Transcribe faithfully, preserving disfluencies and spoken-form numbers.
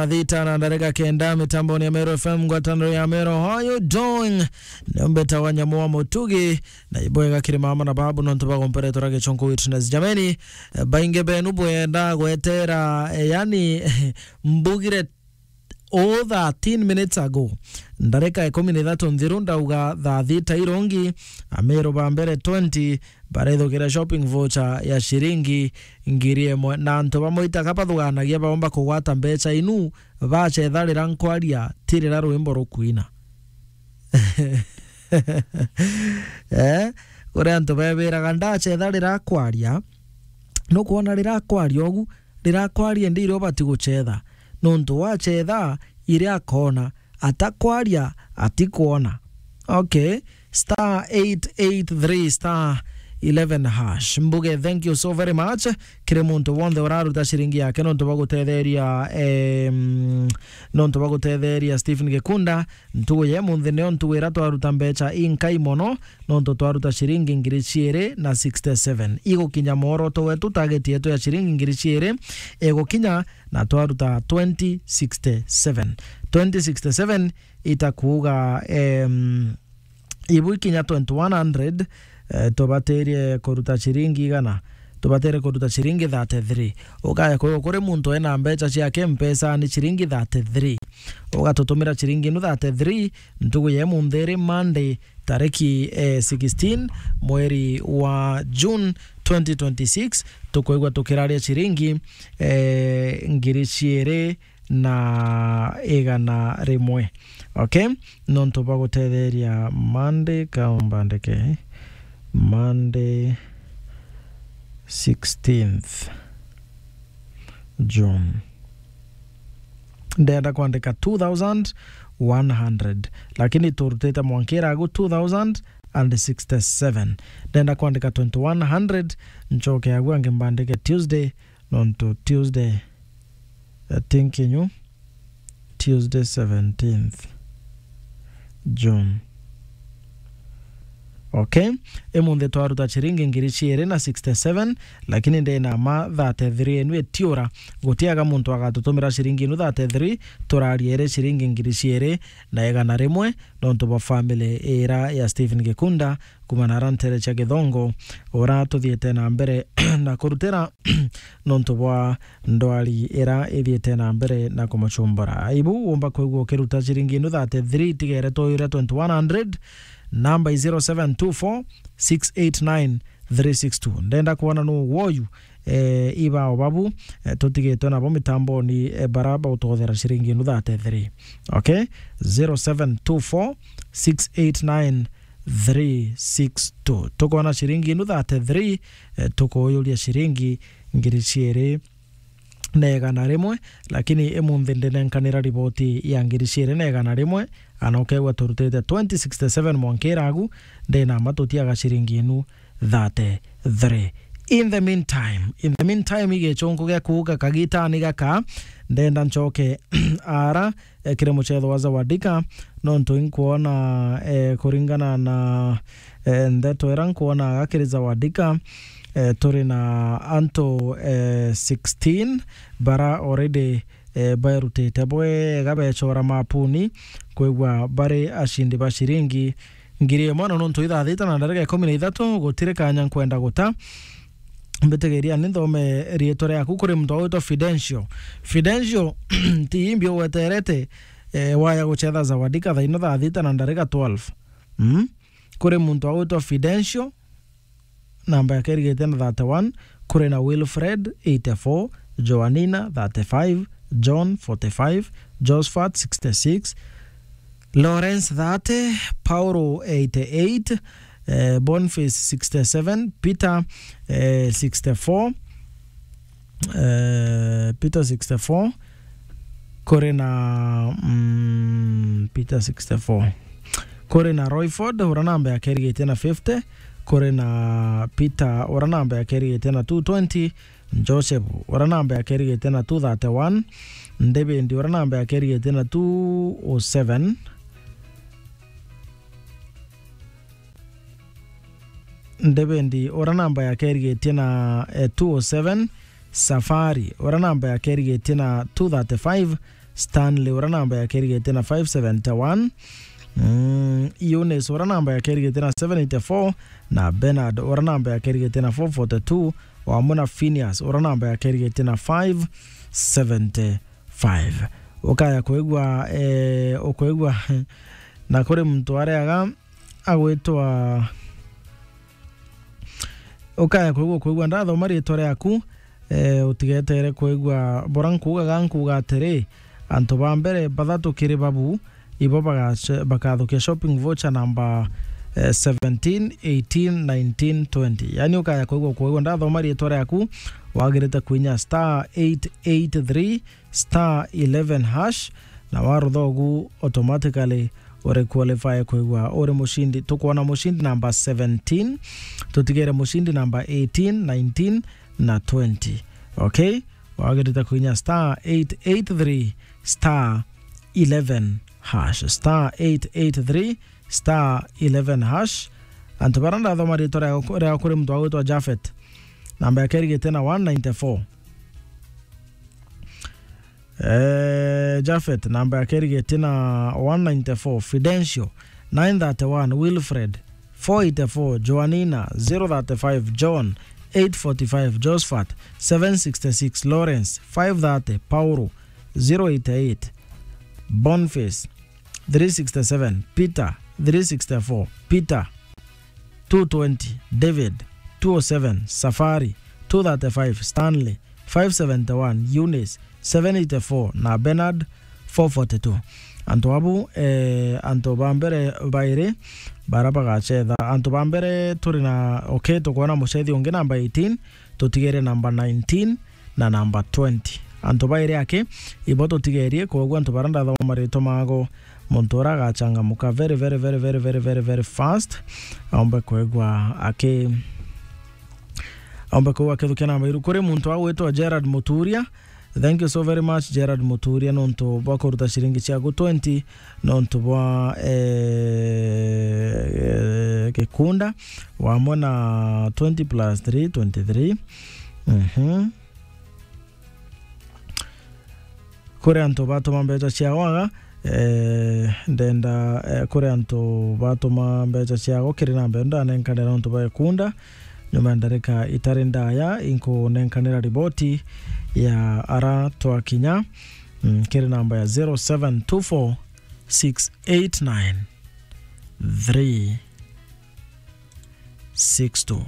Thita na ndareka kenda mitamboni ya Meru F M, ngwataniro ya Meru. How you doing? Niombeta wa nyamu wa mutugi, na ibwega kiri mama na babu nontu bagomperetwo ra gichonko witness. Jameni, eh, baingi benu bwenda gwetera, eh, yani, mbugire o thirteen minutes ago. Ndareka ikumi na ithatu nthiru ndauga thaa thita irongi, Ameru ba mbere twenty, barethukira shopping voucher ya ciringi ngiri imwe. Na antu bamwe itaka bathuganagia baomba kugwata mbecha inu, bacetha rira nkwaria, ti rira rwimbo rukwina. Eh, kuri antu bebiraga, ndacetha rira kwaria, nukwona rira kwaria ugu, rira kwaria ndi iria ubati gucetha. Nontu wacetha, iria akona, atakwaria, atikwona. Okay. Star eight eight three star eleven hash. Mbuge, thank you so very much. Kiri muntu wonthe uraruta ciringi yake nontu bwa gutetheria, em, nontu bwa gutetheria Stephen Gikunda. Ntugu ya munthi nio ntugu ira twaruta mbecha inkai mono, nontu twaruta ciringi ngiri ciiri na sixty-seven. Igukinya mworoto wetu, target yetu ya ciringi ngiri ciiri igukinya, na twaruta twenty sixty-seven. Twenty sixty-seven itakuuga, em, ibu ikinya twenty-one hundred, eh, tubatirie kuruta ciringi igana, tubatirie kuruta ciringi thirty-three. Ukaya kwigua kuri muntu ena mbecha ciake Mpesa ni ciringi thirty-three. Ugatutumira ciringi inu thirty-three, ntugu ya munthi iri Monday, tariki, eh, sixteen, mweri wa June twenty twenty-six, tukwigua tukiraria ciringi, eh, ngiri ciiri na igana rimwe. Okay? Nontu bwa gutetheria Monday, ka umbandike Monday sixteenth June. Ndenda kwandika two thousand one hundred, lakini turutite mwankira agu two thousand and sixty-seven. Ndenda kwandika twenty-one hundred, nchoke agu angi mbandike Tuesday, nontu Tuesday, I think inyu, Tuesday seventeenth June. Okay? Imunthi twaruta ciringi ngiri ciiri na sixty-seven, lakini ndina ma thirty-three inu itiura. Gutiaga muntu agatutumira ciringi inu thirty-three, turaria iri ciringi ngiri ciiri na igana rimwe, nontu bwa family ira ya Stephen Gikunda, kuma na ara ntere cia Githongo, ura tuthiite na mbere na kurutira nontu bwa ndwari ira ithiite na mbere na kumuchumbura. Ibu wumba kwigua ukiruta ciringi inu thirty-three, tigere twoyure twenty-one hundred, namba i zero seven two four six eight nine three six two. Ndenda kwona nu woyu, eh, ibao babu, eh, tutigitwe nabo mitamboni, eh, bara bautothera ciringi inu thirty-three. Okay? Zero seven two four six eight nine three six two. Tukwona ciringi inu thirty-three, eh, tukuyuria ciringi ngiri ciiri na igana rimwe, lakini imunthi ndinenkanira riboti ya ngiri ciiri na igana rimwe, ana ukegua turutite twenty sixty-seven mwankira agu, ndina ma tutiaga ciringi inu thirty-three. In the meantime, in the meantime, igichunku gia kuuga kagitani gaka, ndenda nchoke ara, eh, kiri muchetho wa Zawadika, nontu inkwona, eh, kuringana na, eh, ndeto ira nkwona aga kiri Zawadika, eh, turi na antu, eh, sixteen bara already, eh, baerutite bwega bechora mapuni, kwigua bari ashindi ba ciringi ngiri imwe, na nontu ithaa thita na ndarika ikumi na ithatu, gutiri kanya nkwenda guta. Mbitigiria ni nthome riitwa riaku kuri muntu witwa Fidencio. Fidencio, ti imbi ugweterete, eh, waya guchetha Zawadika thaa ino thaa thita na ndarika twelve. Mm? Kuri muntu witwa Fidencio, namba yake irigite na thirty-one, kuri na Wilfred, eighty-four, Joanina, thirty-five, John, forty-five, Josephat, sixty-six, Lawrence, thirty, Paulo, eighty-eight, eh, Boniface, sixty-seven, Peter, eh, sixty-four, eh, Peter, sixty-four, kuri na, mm, Peter, sixty-four. Kuri na Royford, ura namba yake irigitie na fifty, kuri na Peter, ura namba yake irigitie na two twenty, Joseph, ura namba yake irigitie na two thirty-one, David, ura namba yake irigitie na two oh seven, David, ura namba yake irigitie na, eh, two oh seven, Safari, ura namba yake irigitie na two thirty-five, Stanley, ura namba yake irigite na five seventy-one. Mm, Eunice, ura namba yake irigite na seven eighty-four, na Bernard, ura namba yake irigite na four forty-two, o amwe na Phineas, ura namba yake irigite na five seventy-five. Ukaya kwigua, eh, ukwigua, na kuri muntu areaga agwitwa, ukaya kwigua, kwigua ndathoma ritwa riaku, eh, utigetere kwigua bora nkuugaga, nkuuga atiri, antu ba mbere bathatu kiri babu, ibo bagace-, bakathukia shopping voucher namba, eh, seventeen, eighteen, nineteen, twenty. Yani ukaya kwigua, kwigua ndathoma ritwa riaku, wagirite kwinya star eight eight three star eleven hash, na warutha ugu, automatically uri qualify kwigua uri mucindi. Tukwona mucindi namba seventeen, tutigere mucindi namba eighteen, nineteen na twenty. Okay? Wagirite kwinya star eight eight three star eleven hash. Star eight eight three star eleven hash. Antu bara ndathoma ritwa ria, ria kuri muntu agwitwa Jafet. Namba yake irigite na one ninety-four. Eh, Jafet, namba yake irigite na one ninety-four. Fidencio, nine thirty-one. Wilfred, four eighty-four. Joanina, zero thirty-five. John, eight forty-five. Josephat, seven sixty-six. Lawrence, five thirty. Paulo, zero eighty-eight. Boniface, three sixty-seven. Peter, three sixty-four. Peter, two twenty. David, two oh seven. Safari, two thirty-five. Stanley, five seventy-one. Eunice, seven eighty-four, na Bernard, four forty-two. Antu abu, eh, antu ba mbere bairi bara bagacetha. Antu ba mbere turi na, okay, tukwona mucethi ungi namba eighteen, tutigere namba nineteen na namba twenty. Antu bairi aki, ibo tutigerie, kwoguo antu bara ndathoma maritwa mago, muntu ura agachangamuka very, very, very fast, aumbe kwigua aki, aumbe kwigua akithukia namba iru. Kuri muntu agwitwa Gerard Muturia, thank you so very much, Gerard Muturia, nontu bwa kuruta ciringi ciaku twenty, nontu bwa, eh, gikunda, wamwe na twenty plus three, twenty-three. Mhm. Kuri antu batuma mbeca ciao aga, eh, ndenda, eh, kuri antu batuma mbeca ciao kiri namba ino ndanenkanira nontu bwa gikunda. Nyuma ya ndarika itari ndaya, inkunenkanira riboti ya ara twakinya, mm, kiri namba ya zero seven two four six eight nine three six two.